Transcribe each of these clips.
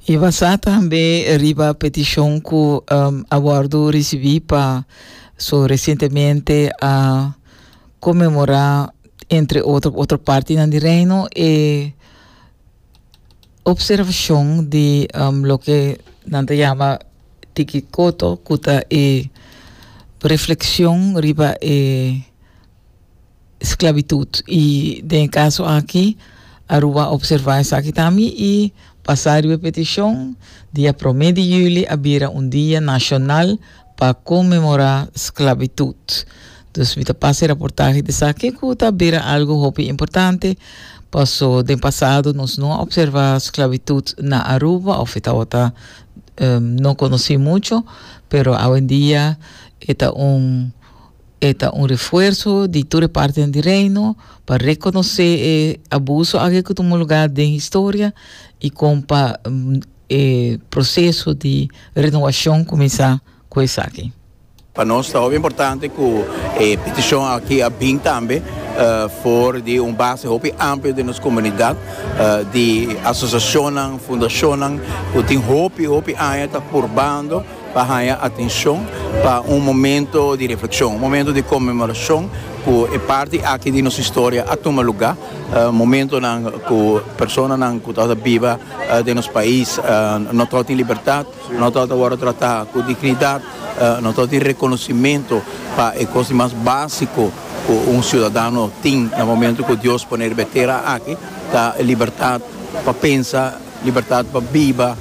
I basá tambe riba petishon ku a wòrdu risibí pa so resientemente a konmemorá entre otro otro partinan di Reino e opservashon di loke nan ta yama Tiki Koto ku ta e reflekshon riba e Sklabitut i den e kaso aki Aruba a opservá esaki tambe i pasá riba e petishon dia promé di yüli a bira un dia nashonal pa konmemorá sklabitut. Dus mi ta pasa e raportahe di esaki ku ta bira algu hopi importante paso den pasado nos no a opservá sklabitut na Aruba òf e tabata no konosí mucho pero awendia e ta un E ta un refuerso di tur e partinan di Reino pa rekonosé e abuso aki ku tuma lugá den historia i kon pa e proseso di renowashon kuminsá ku esaki. Pa nos ta hopi importante ku e petishon aki a bin tambe for di un base hopi amplio den nos komunidat di asosiashonnan, fundashonnan ku tin hopi hopi aña ta purbando pa haña atenshon pa un momento di reflekshon, un momento di konmemorashon ku e parti aki di nos historia a tuma lugá, momentonan ku personanan ku tabata biba den nos pais no tabatin libertat, no tabata wòrdu tratá ku dignidat, no tabatin rekonosimentu pa e kos di mas básiko ku un siudadano tin na momento ku Dios pone riba e tera aki, ta e libertat pa pensa, libertat pa biba.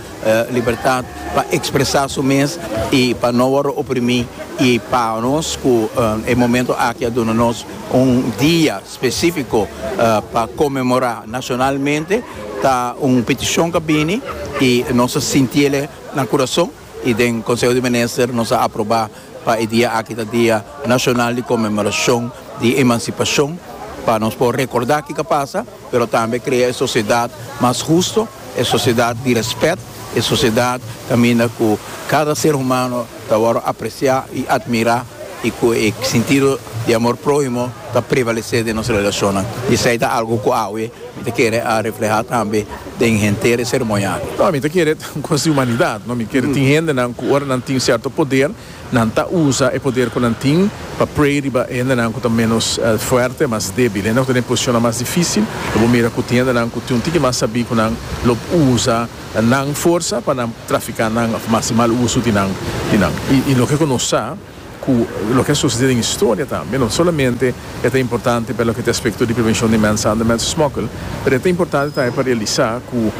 Libertad pa expresa su mes y pa no wordo oprimi y pa nos cu e momento aki a duna nos un dia specifico pa conmemora nacionalmente ta un peticion cu a bini y nos a sintiele na curason y den Conseho di Minister nos a aproba pa e dia aki ta dia nacional di conmemoracion di emancipacion pa nos por recorda kico a pasa pero tambe crea e sociedad mas husto. E sosiedat di rèspèt, e sosiedat kaminda ku kada ser humano ta wòrdu apresiá i atmirá i ku e sintido di amor próhimo ta prevalesé den nos relashonnan. I esei ta algu ku awe mi ta kere a reflehá tambe den henter e seremonia aki. No, mi ta kere ta un kos di humanidat, no? Mi kere tin hendenan ku ora nan tin sierto poder, Nan ta usa e poder ku nan tin pa prey riba e hendenan ku ta ménos fuerte, mas débil. Hende ku ta den posishonnan mas difísil, lo bo mira ku tin hendenan ku tin un tiki mas sabí ku nan lo usa nan forsa pa nan trafiká nan òf hasi mal uso di nan di nan. I loke ku nos sa ku loke a sosodé den historia tambe, no solamente e ta importante pa loke ta e aspekto di prevenshon di mensahandel, mensensmokkel, pero e ta importante tambe pa realisá ku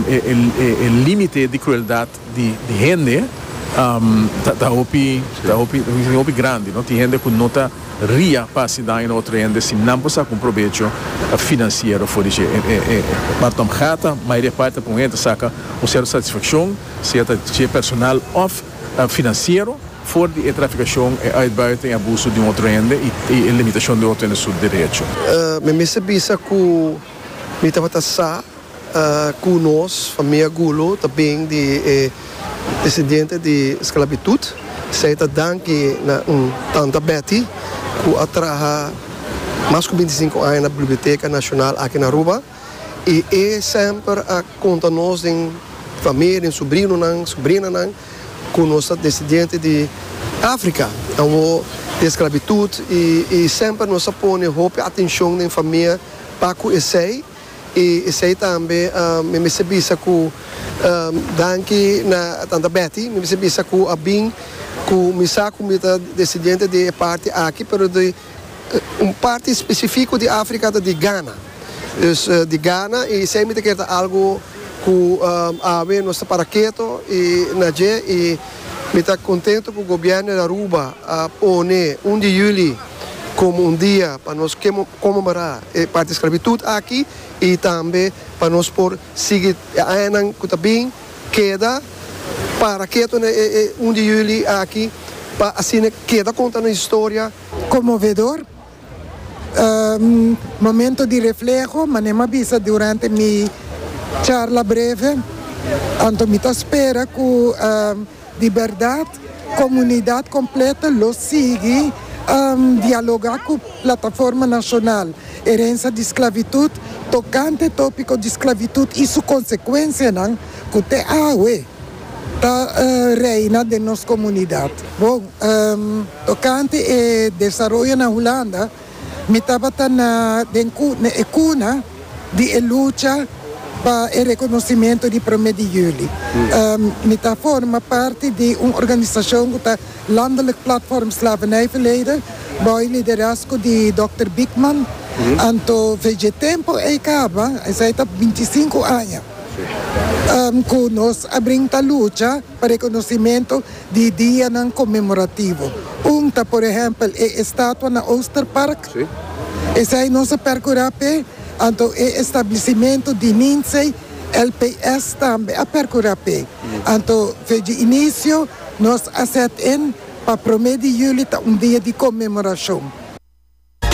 e límite di krueldat, di hende ta hopi ta hopi hopi grandi no tin hende ku no ta ria pa hasi daño na otro hende si nan por saka un probecho finansiero for di dje e parti om gata mayoria parti ta pon hende ta saka un sierto satisfakshon sea ta dje personal òf finansiero for di e trafikashon e uitbuiting e abuso di un otro hende i e limitashon di otro hende su derecho. Mi mester bisa ku mi tabata sa Ku nos famia Gulo ta bin di e desendiente di sklabitut. Esei ta danki na un tanta Betty ku a traha mas ku bintisinku aña na Biblioteka Nashonal aki na Aruba i e semper a konta nos den famia, den subrinonan, subrinanan ku nos ta desendiente di Afrika awor di sklabitut i semper nos a pone hopi atenshon den famia pa ku esei. I esei tambe mi mester bisa ku danki na tanta Betty, mi mester bisa ku a bin ku mi sa ku mi ta desidiente di e parti aki pero di un parti spesifiko di Afrika ta di Ghana. Dus di Ghana i esei mi ta kere ta algu ku awe nos ta para keto i na dje i mi ta kontento ku gobièrnu di Aruba a pone un di yüli komo un dia pa nos konmemorá e parti sklabitut aki i tambe pa nos por sigui e añanan ku ta bin keda para ketu na e un di yüli aki pa asina keda konta nos historia. Konmovedor, momento di refleho, manera mi a bisa durante mi charla breve, anto mi ta spera ku. Di bèrdat, komunidat kompleto lo sigui. Dialoga ku Plataforma Nashonal Herensia di Sklavitut tokante topiko di sklavitut i su konsekuensianan ku te awe ta reina den nos komunidat. Bon, tokante e desaroyo na Hulanda, mi tabata na den e kuna di e lucha pa e rekonosimentu di promé di yüli. Mi ta forma parti di un organisashon ku ta Landelijk Platform Slavernijverleden, bou e liderazgo di dòkter Biekman. Anto dje tempu ei kaba, esei ta bintisinku aña, ku nos a brin ta lucha pa rekonosimentu di dianan konmemorativo. Un ta por ehèmpel e estatua na Oosterpark, esei nos a pèrkurá p'e, anto e establesimentu di Ninsee, LPS tambe a pèrkurá p'e. Anto dje inisio. Nos a set in pa promé di yüli ta un dia di konmemorashon.